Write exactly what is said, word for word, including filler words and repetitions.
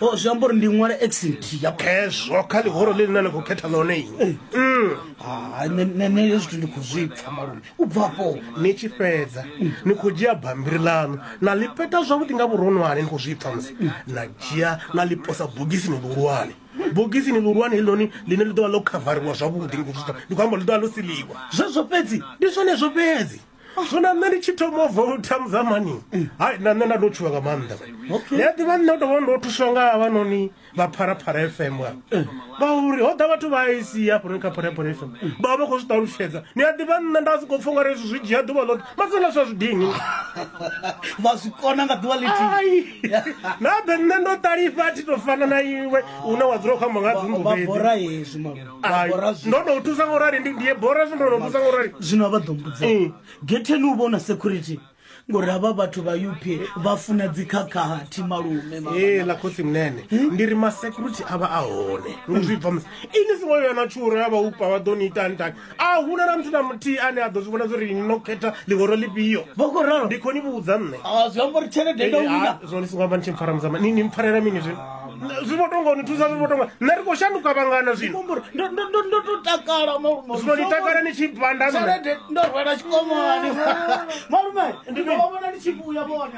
O zwi amba uri ndi ṅwale x nthihi ya Khezwo kha ḽihoro ḽine na ni khou khetha ḽone inwi. Mm. Ha, nṋe nṋe nṋe hezwi zwithu ndi khou zwi pfa malume. U bva afho Ni tshi fhedza ni khou dzhia bammbiri ḽaṋu na ḽi peta zwavhuḓi nga vhuronwane, ni khou zwi pfa musi na dzhia na ḽi posa bogisini ḽihulwane. Bogisini ḽihulwane heḽinoni ḽine ḽi ḓo vha ḽo khavariwa zwavhuḓi, ni khou zwi pfa, ndi khou amba ḽi ḓo vha ḽo siliwa. Zwezwo fhedzi? Ndi zwenezwo fhedzi. Zwino nṋe ndi tshi thoma u voutha muzamani, hai, na nṋe nda ndo tshuwa nga maanḓa. Okay. Ni a ḓivha nṋe u tovha ndo thuswa nga havhanoni vha Pharapara F M avha, ngauri ho ḓa vhathu vha I C hafhanoni kha Pharapara F M vha vha khou zwi ṱalutshedza. Ni a ḓivha nṋe nda sokou pfha ungari hezwi zwi dzhia ḓuvha ḽoṱhe, masela zwa zwi dini Vha zwi kona nga ḓuvha ḽithihi. Ai, na ḓe nṋe ndo ṱalifha, a thi to fana na iwe une wa dzula u khou amba nga dzinnḓu Vha fhedzi. bora hezwi malume, vha Ai, bora zwi. ndo no thusa ngo rali, ndi ndi bora zwi ndo no thusa ngo rali. Zwino vha ḓo mbudza Mm. getheni u vhona security, ngori havha vhathu vha U P vha funa dzikhakhathi malume. Ee, ḽa khotsi munene, ndi ri masecurity a vha a hone, ndi zwi bva musi ini songo ya na tshuro ya vha upa vha ḓo ni itani tani, a huna na muthu na muthihi ane a ḓo zwi vhona zwori ini no khetha ḽihoro ḽifhio. Vha khou ralo. Ndi khou ni vhudza nṋe. Ah, zwi amba uri tshelede ndo wina. Zwino ni songo amba ni tshi mpfara muzama, ni ni mpfarela mini zwino? Zwi vho tonga ni thusa, zwi vho tonga nṋe ri khou shanduka vhangana zwino. Ndo ndo ndo ndo to takala malume. Zwino ni takala ni tshi banda nṋe. Tshelede ndo rwela tshikomani malume, ndi ḓo vha vhona ndi tshi vhuya vhone.